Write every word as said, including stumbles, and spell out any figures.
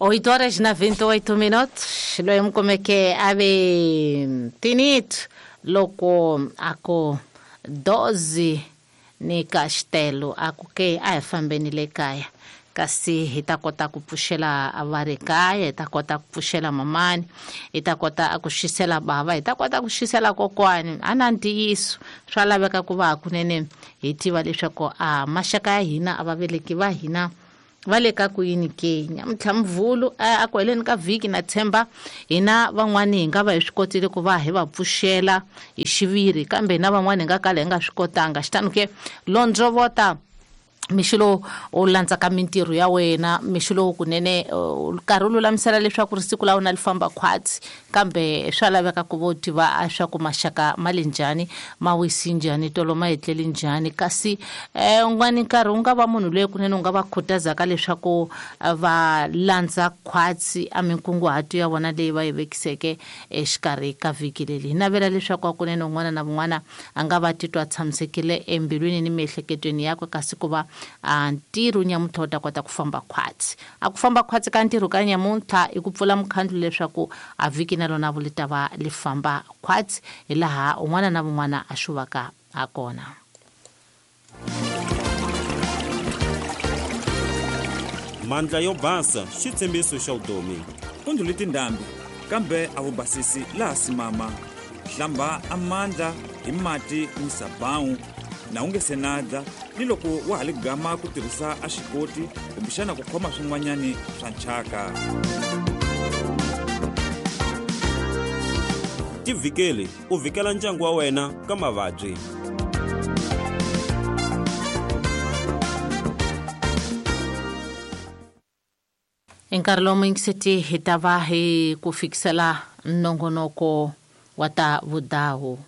Oito horas na vinte e oito minutos, loyi mi kumeke a ve tinito loko a ku doze ni Castelo a ku ke a hi fambeni le kaya, kasi hi ta kota ku pfuxela va ri kaya, hi ta kota ku pfuxela mamani, hi ta kota ku xisela bava, hi ta kota ku xisela kokwani. A na ntiyiso swa laveka ku va hakunene hi tiva leswaku a maxaka ya hina a vaveleki va hina va le ka ku yini ke. Nyamuntlha Mvhulu a ku heleni ka vhiki na tshemba hina van'wani hi nga va hi swi kotile ku va hi va pfuxela hi xiviri, kambe hina van'wani hi nga kala hi nga swi kotanga. Xitano ke londzovota mixo lowu u landzaka mintirho ya wena, mixo lowu kunene nkarhi u lulamisela leswaku ri siku la wena li famba khwatsi, kambe swa laveka ku vo tiva swa ku maxaka ma le njhani, ma wisi njhani, tolo ma etleli njhani. Kasi un'wani nkarhi u nga va munhu loyi kunene u nga va khutazaka leswaku va landza khwatsi a minkunguhato ya vona leyi va yi vekiseke exikarhi ka vhiki leri. Hi navela leswaku kunene un'wana na un'wana a nga va titwa a tshamisekile embilwini ni miehleketweni yakwe, kasi ku va a ntirho nyamuntlha wu ta kota ku famba khwatsi. A ku famba khwatsi ka ntirho ka nyamuntlha i ku pfula mukhandlu leswaku a vhiki na rona vu li ta va li famba khwatsi hi laha un'wana na un'wana a xuvaka ha kona. Mandla yo basa xitshembiso xa vutomi. U ndlhule tindhambi kambe a wu basisi laha simama. Hlamba amandla hi mati ni sabawu na u nge se nadla, ni loko wa ha li gama ku tirhisa a xikoti kumbexana ku khoma swin'wanyani swa nchaka. Tivhikeli u vhikela ndyangu wa wena ka mavabyi. Nkarhi lowu muyingiseti hi ta va hi ku fikisela nongonoko wa ta vudawu.